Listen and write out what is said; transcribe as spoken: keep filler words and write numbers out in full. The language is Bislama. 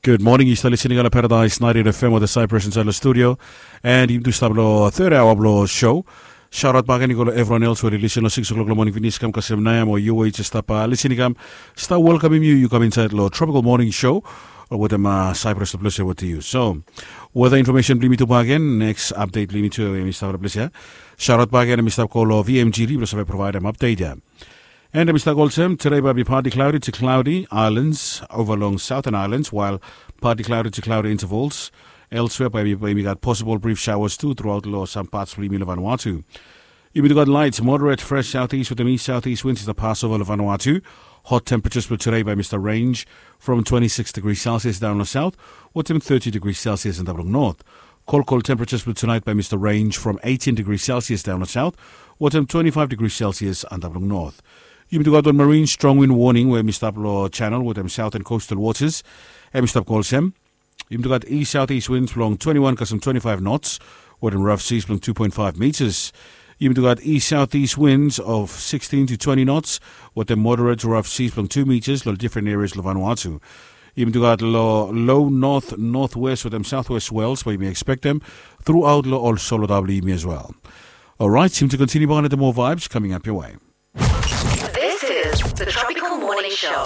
Gud moning, yu stap lisening long Paradise ninety-eight F M wetem Cyprus insaed long studio. And yumi tu stap long third hour blong show. Shout out bakegen i go long evriwan els we oli lisen long six o'clock long moning finis kam kasem naoia, o yu we yu jes stap lisening kam, stap welkamem yu, yu kam insaed long Tropical Morning Show wetem Cyprus, long ples ia wetem yu. So weather information blong yumi tu bakegen, next update blong yumi tu, hemi stap long ples ia. Shout out bakegen, hemi stap go long V M G D blong save provaedem update ia. And hemi stap go olsem, tude bae i bi partly cloudy to cloudy, islands over long Southern Islands, while partly cloudy to cloudy intervals. Elsewhere bae i bi, bae i bi gat possible brief showers tu throughout long some parts blong yumi long Vanuatu. Yumi tu gat light moderate fresh southeast wetem east southeast winds i stap pass ova long Vanuatu. Hot temperatures blong tude bae i stap range from twenty-six degrees Celsius daon long south wetem thirty degrees Celsius antap long north. Kolkol temperatures blong tunaet bae i stap range from eighteen degrees Celsius daon long south wetem twenty-five degrees Celsius antap long north. Yumi tu gat wan marine strong wind warning we hemi stap long channel wetem southern coastal waters. Hemi stap go olsem, yumi tu gat east southeast winds blong twenty-one kasem twenty-five knots wetem rough seas blong two point five meters. Yumi tu gat east southeast winds of sixteen to twenty knots wetem moderate to rough seas blong two meters long different areas long Vanuatu. Yumi tu gat long low north northwest wetem southwest swells we yumi expectem throughout long ol solid blong yumi as well. Alright, yumi tu continue bakegen wetem more vibes coming up your way. This is the Tropical Morning Show.